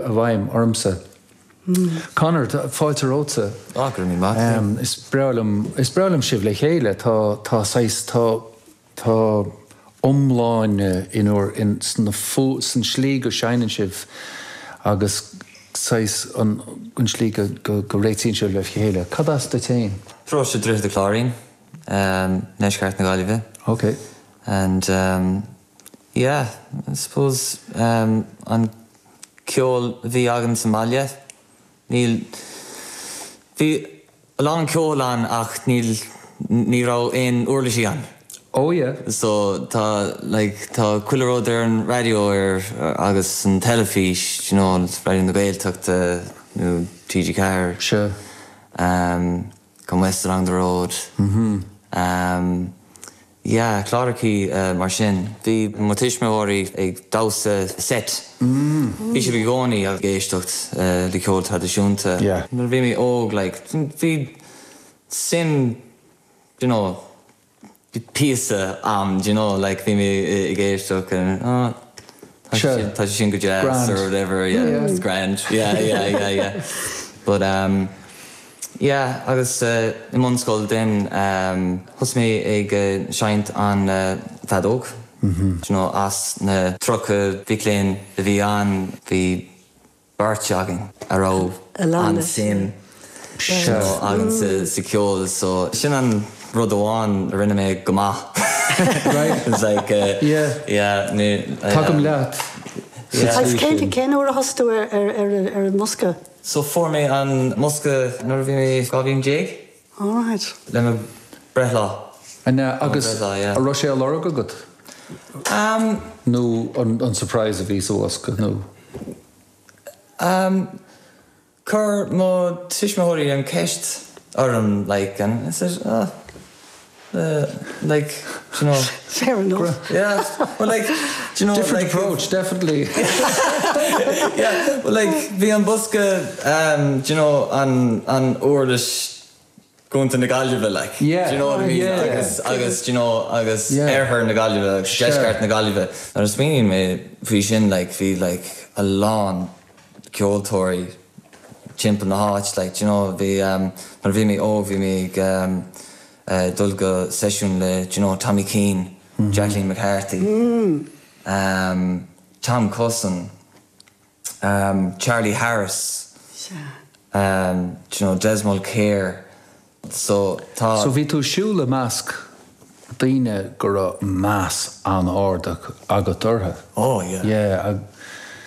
i bhfeidhm ormsa. Conor, fáilte romhatsa. Ah, go raibh míle maith agat. Is breá liom, is breá liom sibh le chéile. Tá, tá saghas, tá, tá iomláine in bhur, in, sna fu, san slí go seinneann sibh agus saghas an, an slí go, go, go réitíonn sibh le chéile. Cad as duit féin? Paróiste Droichead an Chláirín, ndeisceart na Gaillimhe. Ok. And yeah, I suppose an ceol a bhí againn sa mbaile, níl, bhí a lán ceoil ann ach níl, ní raibh aon uirlisí ann. Oh yeah. So tá like tá chuile rud ar an raidió ar agus an teilifís, you know, Raidió na Gaeltachta nó TG4. Sure. Um, Come West Along the Road. Mm-hmm. Um, Yeah, clárachaí mar sin. Bhí mo tuismitheoirí ag damhsa seit. Bhí siad i gcónaí ag éisteacht le ceol traidisiúnta. Nuair a bhí mé óg, like, bhí suim, do you know, píosa a'm, do you know, like, bhí mé ag éisteacht and oh, tá sé sin, tá sé sin go deas or whatever, yeah, it's grand, yeah, yeah, yeah, yeah. But, um. Yeah, agus i mbunscoil then thosaigh mé ag seinnt an feadóg, do you know, as na 30 mhic léinn a bhí ann, bhí beirt againn a raibh an-suim you know againn sa cheol, so sin an rud amháin a rinne mé go maith. Right. It's like yeah, yeah, ní, Tagaim leat sa tslí sin. Cén uair a thosaigh tú ar an mbosca? So fuair mé an mbosca nuair a bhí mé 12 bhliain. Alright. Le mo breithlá. An ea? Agus yeah. an raibh sé á lorg agat? Um. Nó an surprise a bhí sa bhosca nó? Um, chuir mo tuismitheoirí an ceist orm like and I said oh like, do you know. Fair enough. Yeah, well like, do you know. Different like, approach, definitely. yeah, well like, bhí an bosca, um, do you know, an, an uirlis gContae na Gaillimhe, like. Yeah. Do you know what I mean? Yeah. Agus, agus, do you know, agus yeah. oirthear na Gaillimhe, agus Sure. deisceart na Gaillimhe. Nuair a smaoiníonn mé faoi sin, like, bhí, like, a lán ceoltóirí timpeall na háit, like, do you know, bhí, um, nuair a bhí mé óg, bhí mé ag, um, dul go seisiún le, do you know, Tommy Keane, Jacqueline McCarthy, um, Tom Cussen, um, Charlie Harris, um, do you know, Des Mulkere, so tá. So bhí tú ag siúl i measc daoine go raibh meas an-ard agat orthu. Oh yeah. Yeah.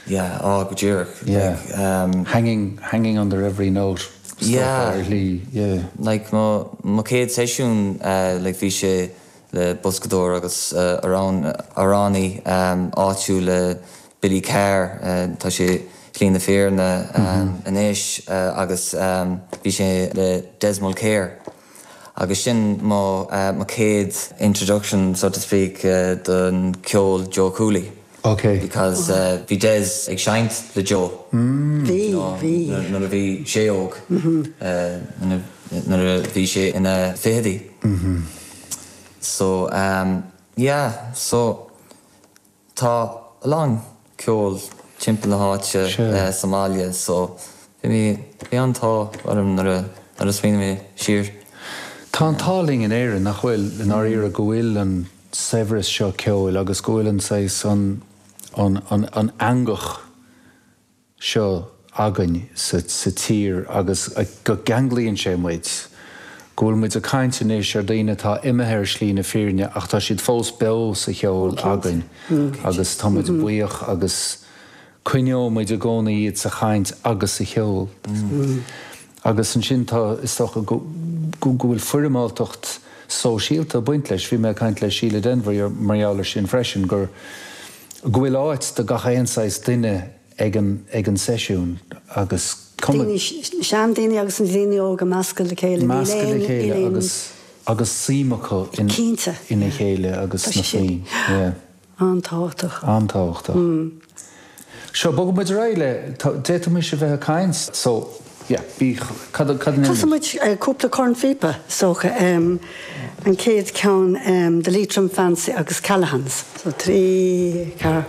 Yeah, oh go díreach. Yeah. Like, um. Hanging, hanging on their every note. Yeah. Ar shlí, yeah. Like mo, mo chéad seisiún like bhí sé le boscadóir agus amhrán, amhránaí áitiúil le Billy Carr, tá sé Shlí na Fírinne anois agus bhí sé le Des Mulkere agus sin mo, mo chéad introduction so to speak don ceol Joe Cooley. Ok. Because bhí Des ag seinnt le Joe. Bhí, bhí. Nuair a bhí sé óg. Nuair a bhí sé ina fichidí. So yeah, so tá a lán ceol timpeall na háite sa mbaile so bhí mé, bhí an-t-ádh orm nuair a, nuair a smaoinigh mé siar. Tá an t-ádh linn in Éirinn, nach bhfuil, i ndáiríre, go bhfuil an saibhreas seo ceoil agus go bhfuil an saghas, an, an, an, an eangach seo againn sa, sa tír agus go gceanglaíonn sé muid, go bhfuil muid ag caint anois ar daoine atá imithe ar shlí na fírinne ach tá siad fós beo sa cheol againn agus tá muid buíoch agus coinneoidh muid i gcónaí iad sa chaint agus sa cheol. Agus ansin tá, is dócha, go bhfuil foirmeáltacht sóisialta ag baint leis. Bhí mé ag caint le Síle Denvir mar gheall ar sin freisin, gur, go bhfuil áit do gach aon saghas duine ag an, ag an seisiún agus cuma. Daoine, seandaoine agus na daoine óga measctha le chéile. Measctha le chéile agus, agus suim acu in, Cinnte. ina chéile agus Tá sna sé sin. foinn. Yeah. An-tábhachtach. An-tábhachtach. Seo, bogfaidh muid ar aghaidh le, d'fhéadfaimis a bheith ag caint, so, yeah, bí, cad, cad a Casfaidh muid cúpla cornphíopa, is dócha. An chéad cheann, The Leitrim Fancy agus Callaghan's. So, 3, 4.